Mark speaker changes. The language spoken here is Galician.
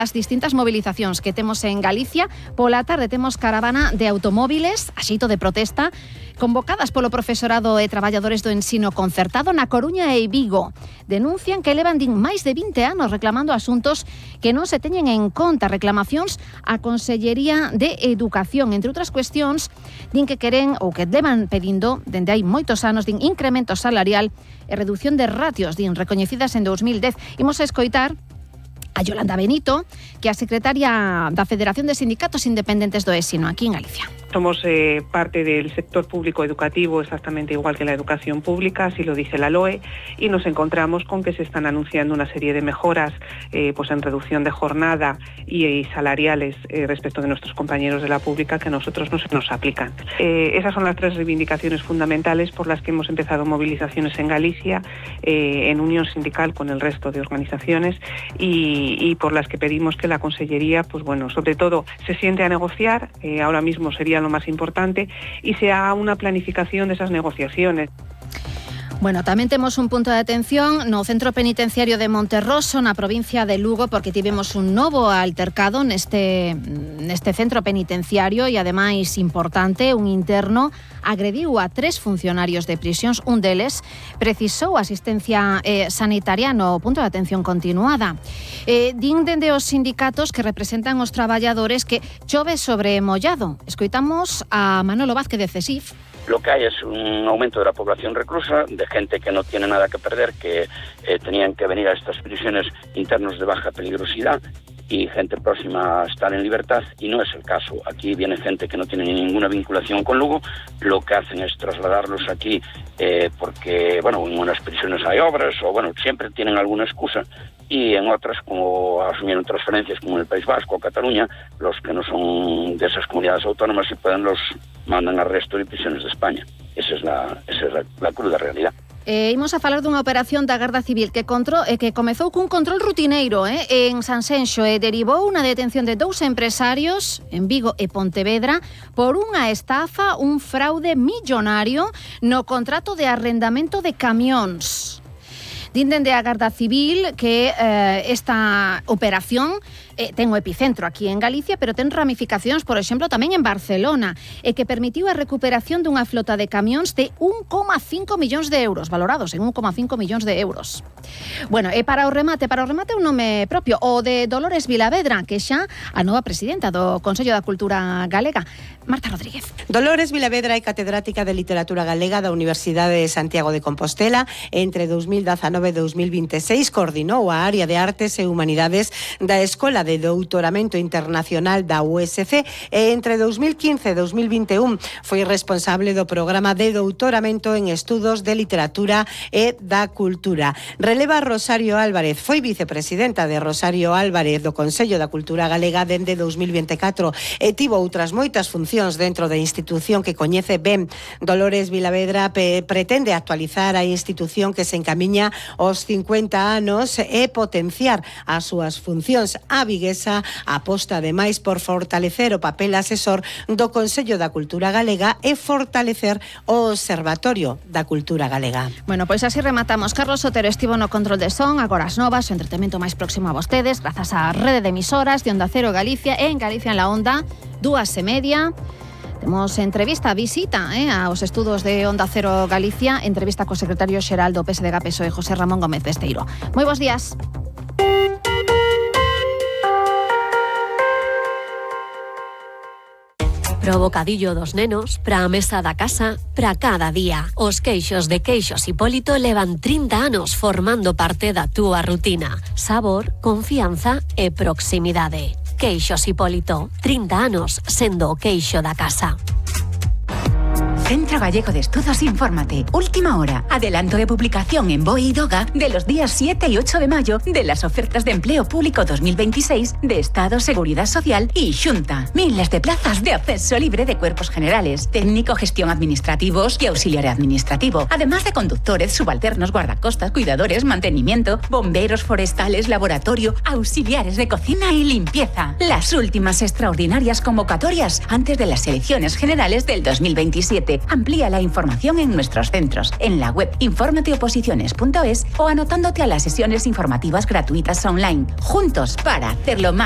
Speaker 1: As distintas movilizacións que temos en Galicia, pola tarde temos caravana de automóviles, a xeito de protesta, convocadas polo profesorado e traballadores do ensino concertado na Coruña e Vigo. Denuncian que levan máis de 20 anos reclamando asuntos que non se teñen en conta, reclamacións á Consellería de Educación. Entre outras cuestións, din que queren ou que levan pedindo, dende hai moitos anos, din incremento salarial e reducción de ratios, din recoñecidas en 2010. Imos a escoitar a Yolanda Benito, que é a secretaria da Federación de Sindicatos Independentes do ESINO, aquí en Galicia.
Speaker 2: Somos parte del sector público educativo, exactamente igual que la educación pública, así lo dice la LOE, y nos encontramos con que se están anunciando una serie de mejoras pues en reducción de jornada y salariales respecto de nuestros compañeros de la pública que a nosotros no se nos aplican. Esas son las tres reivindicaciones fundamentales por las que hemos empezado movilizaciones en Galicia, en unión sindical con el resto de organizaciones y por las que pedimos que la Consellería, pues bueno, sobre todo se siente a negociar, ahora mismo sería lo más importante, y se haga una planificación de esas negociaciones.
Speaker 1: Bueno, tamén temos un punto de atención no centro penitenciario de Monterroso, na provincia de Lugo, porque tivemos un novo altercado neste centro penitenciario e, ademais, importante, un interno agrediu a 3 funcionarios de prisións. Un deles precisou asistencia sanitaria no punto de atención continuada. Din dende os sindicatos que representan os traballadores que chove sobre mollado. Escoitamos a Manolo Vázquez de CESIF.
Speaker 3: Lo que hay es un aumento de la población reclusa, de gente que no tiene nada que perder, que tenían que venir a estas prisiones internos de baja peligrosidad, y gente próxima a estar en libertad, y no es el caso. Aquí viene gente que no tiene ninguna vinculación con Lugo, lo que hacen es trasladarlos aquí porque, bueno, en unas prisiones hay obras, o bueno, siempre tienen alguna excusa, y en otras, como asumieron transferencias como en el País Vasco o Cataluña, los que no son de esas comunidades autónomas, si pueden, los mandan al resto de prisiones de España. Esa es la cruda realidad.
Speaker 1: Imos a falar dunha operación da Garda Civil que comezou cun control rutineiro en Sanxenxo e derivou unha detención de 2 empresarios en Vigo e Pontevedra por unha estafa, un fraude millonario no contrato de arrendamento de camións. Din dende a Garda Civil que esta operación ten o epicentro aquí en Galicia, pero ten ramificacións, por exemplo, tamén en Barcelona, e que permitiu a recuperación dunha flota de camións de 1,5 millóns de euros, valorados en 1,5 millóns de euros. Bueno, e para o remate un nome propio, o de Dolores Vilavedra, que xa a nova presidenta do Consello da Cultura Galega, Marta Rodríguez.
Speaker 4: Dolores Vilavedra é catedrática de Literatura Galega da Universidade de Santiago de Compostela. Entre 2019 e 2026 coordinou a área de Artes e Humanidades da Escola de Doutoramento Internacional da USC e entre 2015 e 2021 foi responsable do programa de doutoramento en estudos de literatura e da cultura. Releva Rosario Álvarez, foi vicepresidenta de Rosario Álvarez do Consello da Cultura Galega dende 2024 e tivo outras moitas funcións dentro da institución que coñece ben. Dolores Vilavedra pretende actualizar a institución que se encamiña aos 50 anos e potenciar as súas funcións. A viguesa aposta ademais por fortalecer o papel asesor do Consello da Cultura Galega e fortalecer o Observatorio da Cultura Galega.
Speaker 1: Bueno, pois así rematamos. Carlos Otero estivo no control de son, agora as novas, o entretemento máis próximo a vostedes, grazas á rede de emisoras de Onda Cero Galicia e en Galicia en la Onda, 2:30. Temos entrevista, visita aos estudos de Onda Cero Galicia, entrevista co secretario xeral do PSDG-PSOE, José Ramón Gómez Besteiro. Moi bons días.
Speaker 5: Pro bocadillo dos nenos, pra a mesa da casa, pra cada día. Os queixos de Queixos Hipólito levan 30 anos formando parte da túa rutina. Sabor, confianza e proximidade. Queixos Hipólito, 30 anos sendo o queixo da casa.
Speaker 6: Centro Gallego de Estudos Infórmate. Última hora. Adelanto de publicación en BOE y DOGA de los días 7 y 8 de mayo de las ofertas de empleo público 2026 de Estado, Seguridad Social y Xunta. Miles de plazas de acceso libre de cuerpos generales, técnico, gestión administrativos y auxiliar administrativo. Además de conductores, subalternos, guardacostas, cuidadores, mantenimiento, bomberos forestales, laboratorio, auxiliares de cocina y limpieza. Las últimas extraordinarias convocatorias antes de las elecciones generales del 2027. Amplía la información en nuestros centros, en la web informateoposiciones.es o anotándote a las sesiones informativas gratuitas online. Juntos para hacerlo más